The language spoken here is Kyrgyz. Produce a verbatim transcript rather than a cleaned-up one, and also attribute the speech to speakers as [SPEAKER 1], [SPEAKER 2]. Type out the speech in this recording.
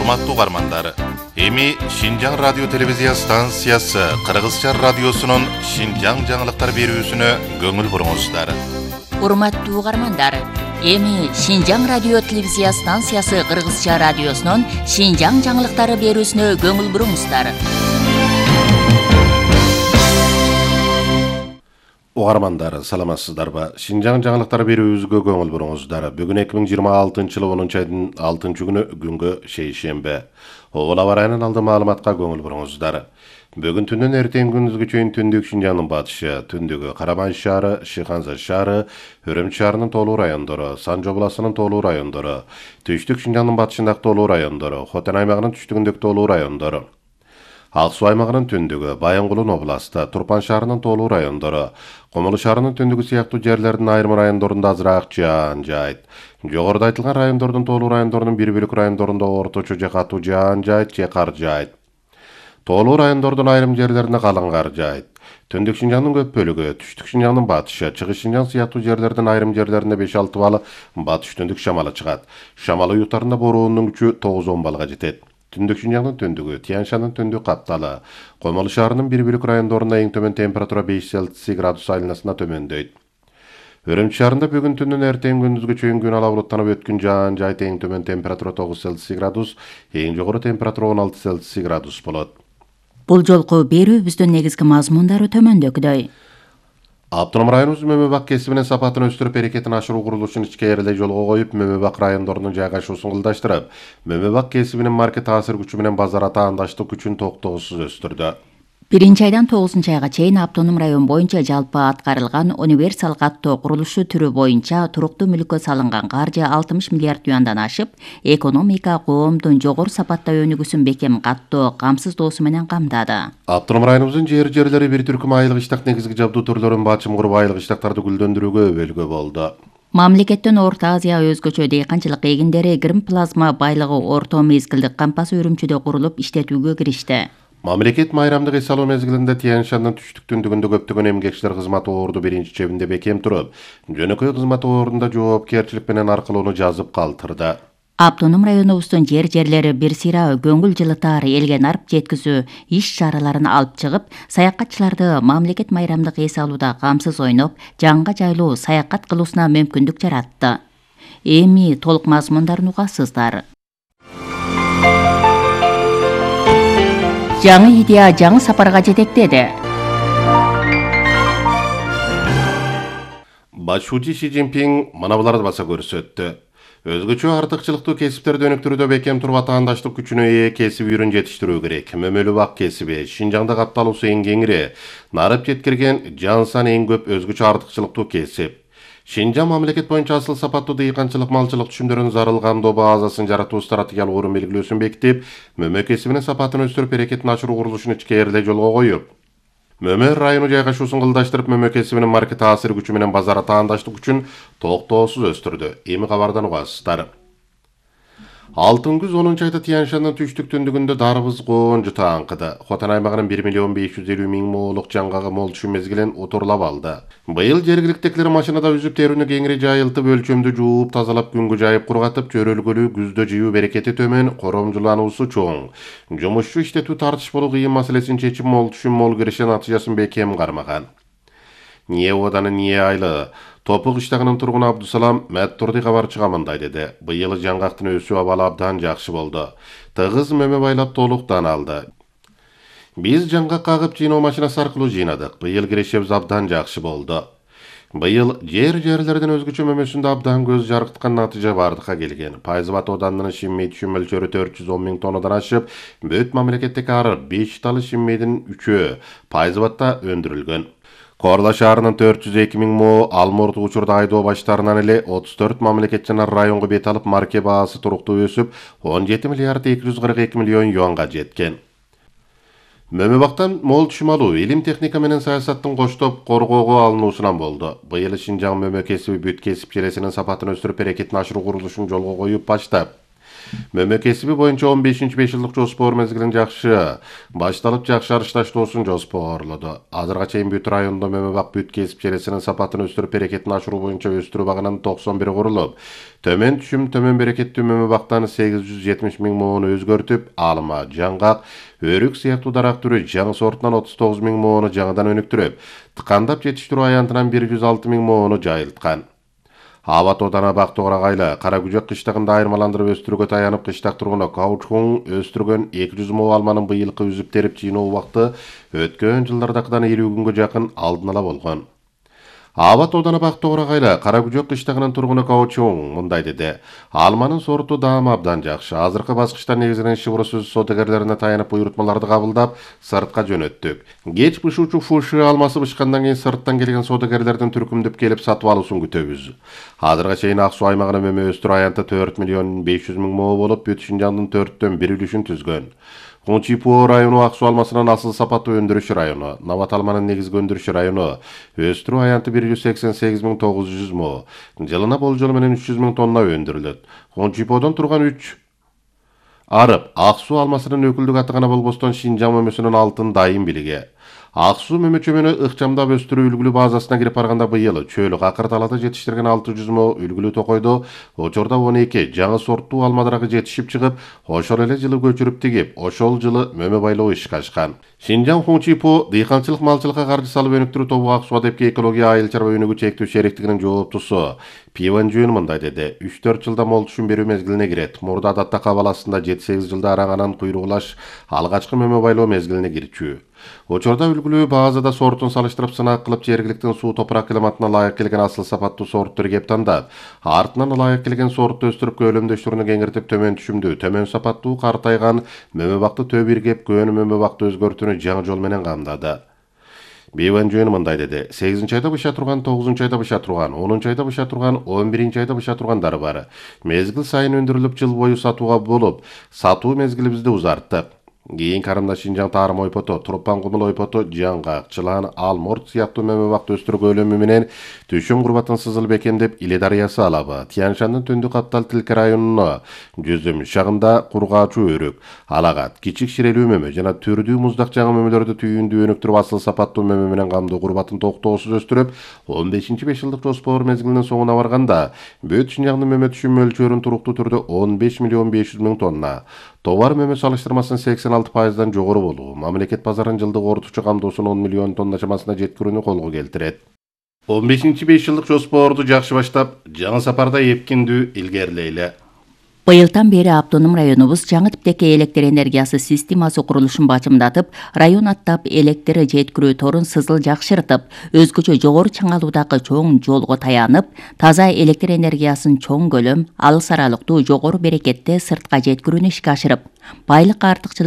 [SPEAKER 1] Урматтуу угармандар, эми Шинжаң радио телевизия станциясы Кыргызча радиосунун Шинжаң жаңылыктар берүүсүнө көңүл буруңуздар.
[SPEAKER 2] Урматтуу угармандар, эми Шинжаң радио телевизия станциясы Кыргызча радиосунун Шинжаң жаңылыктары берүүсүнө көңүл буруңуздар.
[SPEAKER 3] Угармандар, саламатсыздарбы? Шинжаң жаңылыктар берүүбүзгө көңүл буруңуздар. Бүгүн эки миң жыйырма алтынчы жылы онунчу айдын алтынчы күнү күнгө шейшембе. Обол аба ырайынын алды маалыматка көңүл буруңуздар. Бүгүн түндөн эртең күндүзгө чейин түндүк Шинжаңдын батышы, түндүгү Карабан шаары, Шыханза шаары, Өрөм шаарынын тоолуу райондору, Санжы областынын тоолуу райондору, түштүк Шинжаңдын батышындагы тоолуу райондору, Хотен аймагынын түштүгүндөгү тоолуу райондору, Ак Суу аймагынын түндүгү, Баянгулун областы, Турпан шаарынын тоолуу райондору, Комулу шаарынын түндүгү сыяктуу жерлердин айрым райондорунда азыраак жаан жайт. Жогоруда айтылган райондордун тоолуу райондорунун бир бөлүк райондорунда орточо же катуу жаан жайт же кар жайт. Тоолуу райондордун айрым жерлерине калың кар жайт. Түндүк Шинжаңдын көп бөлүгү, түштүк Шинжаңдын батышы, Чыгыш Шинжаң сыяктуу жерлердин айрым жерлерине беш алты балы батыш түндүк шамалы чыгат. Шамал уюктарында бороонун күчү тогуз он балга жетет. Түндүк Шинжаңдын түндүгү, Тянь-Шандын түндүк капталы, Комулу шаарынын бир бөлүк райондорунда эң төмөн температура беш Цельсий градус айланасына төмөндөйт. Өрөм шаарында бүгүн түндүн эртең күндүзгө чейин күн ала булуттанып өткөн жаан жайт, эң төмөн температура тогуз Цельсий градус, эң жогору температура он алты Цельсий градус болот.
[SPEAKER 2] Бул жолку берүүбүздүн негизги мазмундары төмөндөгүдөй.
[SPEAKER 3] Автоном районубуз мөмө бак кесибинин сапатын өстүрүп, берекетин ашыруу курулушун ичкерилей жолго коюп, мөмө бак райондорунун жайгашуусун кылдаштырып, мөмө бак кесибинин маркет таасир күчү менен базар атаандаштык күчүн токтоосуз өстүрдү.
[SPEAKER 2] Биринчи айдан тогузунчу айга чейин автоном район боюнча жалпы аткарылган универсал каттоо курулушу түрү боюнча туруктуу мүлккө салынган каржы алтымыш миллиард юандан ашып, экономика коомдун жогору сапатта өнүгүүсүн бекем каттоо камсыздоосу менен камдады.
[SPEAKER 3] Автоном районубуздун жер жерлери бир түркүм айылык иштак негизги жабдуу түрлөрүн бачым куруп, айылык иштактарды гүлдөндүрүүгө өбөлгө болду.
[SPEAKER 2] Мамлекеттин Орто Азия өзгөчө дейканчылык эгиндери грим плазма байлыгы орто мезгилдик кампасы Үрүмчүдө курулуп иштетүүгө киришти.
[SPEAKER 3] Мамлекет майрамдык эс алуу мезгилинде Тянь-Шандын түштүк түндүгүндө көптөгөн эмгекчилер кызмат орду биринчи чебинде бекем туруп, жөнөкөй кызмат ордунда жоопкерчилик менен аркылоону жазып калтырды.
[SPEAKER 2] Автоном районубуздун жер жерлери бир сыйра көңүл жылытар элге нарп жеткизүү иш чараларын алып чыгып, саякатчыларды мамлекет майрамдык эс алууда камсыз ойноп, жанга жайлуу саякат кылуусуна мүмкүндүк жаратты. Эми толук мазмундарын угасыздар. Жаңы идея жаңы сапарга жетектеди.
[SPEAKER 3] Башчы Си Цзиньпин мына буларды баса көрсөттү. Өзгөчө артыкчылыктуу кесиптерди өнүктүрүүдө бекем туруп, атаандаштык күчүнө ээ кесип үйрөн жетиштирүү керек. Мөмөлүү бак кесиби, Шинжаңда капталуусу эң кеңири, нарып жеткирген жан саны эң көп өзгөчө артыкчылыктуу кесип. Шинжаң мамлекет боюнча асыл сапаттуу дыйканчылык, малчылык түшүмдөрүн зарыл камдоо базасын жаратуу стратегиялык орун белгилөөсүн бекитип, мөмө кесибинин сапатын өстүрүп, берекетин ашыруу курулушун ичкерилей жолго коюп, мөмө району жайгашуусун кылдаштырып, мөмө кесибинин маркет таасир күчү менен базар атаандаштык күчүн токтоосуз өстүрдү. Эми кабардан угасыздар. Алтын күз онунчу айда Тянь-Шандын түштүк түндүгүндө дарбыз коон жута аңкыды. Хотен аймагынын бир миллион беш жүз элүү миң моолук жаңгагы мол түшүм мезгилин утурлап алды. Быйыл жергиликтегилер машинада үзүп терүүнү кеңири жайылтып, өлчөмдү жууп, тазалап, күнгө жайып кургатып, чөрөлгөлүү күздө жыюу берекети төмөн, коромжулануусу чоң. Жумушчу иштетүү тартышпалуу кыйын маселесин чечип, мол түшүм, мол киреше натыйжасын бекем кармаган. Ниэ ооданы Ниэ айылы Топук иштагынын тургуну Абдусалам Мәттурди кабарчыга мындай деди. Быйыл жаңгактын өсүү абалы абдан жакшы болду. Тыгыз мөмө байлап толуктан алды. Биз жаңгак кагып жыйноо машинасы аркылуу жыйнадык. Быйыл кирешебиз абдан жакшы болду. Быйыл жер жерлердин өзгөчө мөмөсүндө абдан көз жаркыткан натыйжа бардыкка келген. Пайзыбат оданынын шиммей түшүм мөлчөрү төрт жүз он миң тоннадан ашып, бөт мамлекеттеги ары беш талы шиммейдин үчөө Пайзыбатта өндүрүлгөн. Корла шаарынын төрт жүз эки миң мо ал мурдуу учурда айдоо баштарынан эле отуз төрт мамлекет жана районго бет алып, марке баасы туруктуу өсүп, он жети миллиард эки жүз кырк эки миллион юанга жеткен. Мөмө бактан мол түшүм алуу илим, техника менен саясаттын коштоп коргоого алынуусунан болду. Быйыл Шинжаң мөмө кесиби бүт кесип желесинин сапатын өстүрүп, берекетин ашыруу курулушун жолго коюп баштап, Мөмө кесиби боюнча он бешинчи беш жылдык жоспор мезгилин жакшы башталып жакшырыш таштоосун жоспорлоду. Азырга чейин бүт райондо мөмө бак бүт кесип желесинин сапатын өстүрүп берекетин ашыруу боюнча өстүрүү багынан токсон бир курулуп, төмөн түшүм төмөн берекеттүү мөмө бактан сегиз жүз жетимиш миң моону өзгөртүп, алма, жаңгак, өрүк сыяктуу дарак түрү жаңы сортунан отуз тогуз миң моону жаңыдан өнүктүрүп, тыкандап жетиштирүү аянтынан бир жүз алты миң моону жайылткан. Аба Тоодана Бактоора Кайла Кара Күжөк кыштагында айырмаландырып өстүрүүгө таянып кыштак тургуну каучукун өстүргөн эки жүз moo алманын быйылкы үзүп терип жыйноо убакыты өткөн жылдардакыдан элүү күнгө жакын алдын ала болгон. Аба Тоодана Бактоора Кайла Кара Күжөк кыштагынын тургуну Каучуң мындай деди: "Алманын сорту даамы абдан жакшы. Азыркы баскычта негизинен шыбыры сөз содагерлерине таянып буйрутмаларды кабылдап, сыртка жөнөттүк. Кеч бышуучу фуши алмасы бышкандан кийин сырттан келген содагерлердин түркүмдөп келип сатып алуусун күтөбүз. Азырга чейин Ак Суу аймагынын мөмө өстүрүү аянты төрт миллион беш жүз миң moo болуп, бүт Шинжаңдын төрттөн бир үлүшүн түзгөн. Хунчипо району Ак Суу алмасынын асыл сапаттуу өндүрүш району, Нават алманын негизги өндүрүш району, өстүрүү аянты бир жүз сексен сегиз миң тогуз жүз moo, жылына болжол менен үч жүз миң тонна өндүрүлөт. Хунчиподон турган үч арып Ак Суу алмасынын өкүлдүк аты гана болбостон Шинжаң мөмөсүнүн алтын дайым билиги. Ак Суу мөмө чөмөнү ыкчамдап өстүрүү үлгүлүү базасына кирип барганда быйыл чөөлүк акыр талаада жетиштирген алты жүз moo үлгүлүү токойдо очордо он эки жаңы сорттуу алма дарагы жетишип чыгып, ошол эле жылы көчүрүп тигип, ошол жылы мөмө байлоо ишке ашкан. Шинжаң Хунчипо дыйканчылык малчылыкка каржы салып өнүктүрүү тобу Ак Суу адепке экология айыл чарба өнүгүү чектүү шериктигинин жооптусу Пиван Жөн мындай деди: үч төрт жылда мол түшүм берүү мезгилине кирет. Мурда адатта кабыл астында жети сегиз жылда араңанан куйругулаш алгачкы мөмө байлоо мезгилине кирчү. Очордо үлгүлүү базада сортун салыштырып сынак кылып, жергиликтин суу топурак климатына ылайык келген асыл сапаттуу сорттор кеп тандап, артынан ылайык келген сортту өстүрүп көлөмдөштүрүүнү кеңиртип, төмөн түшүмдүү, төмөн сапаттуу картайган мөмө бакты төп иргеп, көөнү мөмө бакты өзгөртүүнү жаңы жол менен камдады. Бейван Жөн мындай деди: сегизинчи айда быша турган, тогузунчу айда быша турган, онунчу айда быша турган, он биринчи айда быша тургандары бар. Мезгил сайын өндүрүлүп, жыл бою сатууга болуп, сатуу мезгилибизди узарттык. Кийин карымда Шинжаң Тарым ойпото, Турпан Кумул ойпото, жаңгак, чылан, алморт сыяктуу мөмө бакты өстүрүү көлөмү менен түшүм курбатын сызыл бекемдеп, Иле дарыясы алабы, Тянь-Шандын түндүк Каптал Тилке районуна жүзүм шагында кургаачу өрүк, алагат, кичик ширелүү мөмө жана түрдүү муздак жаңы мөмөлөрдү түйүндүү өнүктүрүп, асыл сапаттуу мөмө менен камдуу курбатын токтоосуз өстүрүп, он бешинчи беш жылдык жоспор мезгилинин соңуна барганда бүт Шинжаңдын мөмө түшүм мөлчөрүн туруктуу түрдө он беш миллион беш жүз миң тонна, товар мөмө салыштырмасынын сексен алты пайыздан жогору болуу, мамлекет базарын жылдык орточо камдоосун он миллион тонна чамасына жеткирүүнү колго келтирет. он бешинчи беш жылдык жоспорду жакшы баштап, жаңы сапарда эпкиндүү илгерилейле.
[SPEAKER 2] Быйылдан бери автоном районубуз жаңы типтеги электр энергиясы системасы курулушун бачымдатып, район аттап электр жеткирүү торун сызыл жакшыртып, өзгөчө жогору чыңалуудагы чоң жолго таянып, таза электр энергиясын чоң көлөм, алыс аралыктуу жогору берекетте сыртка жеткирүүнү ишке ашырып, байлык артыкчылыгы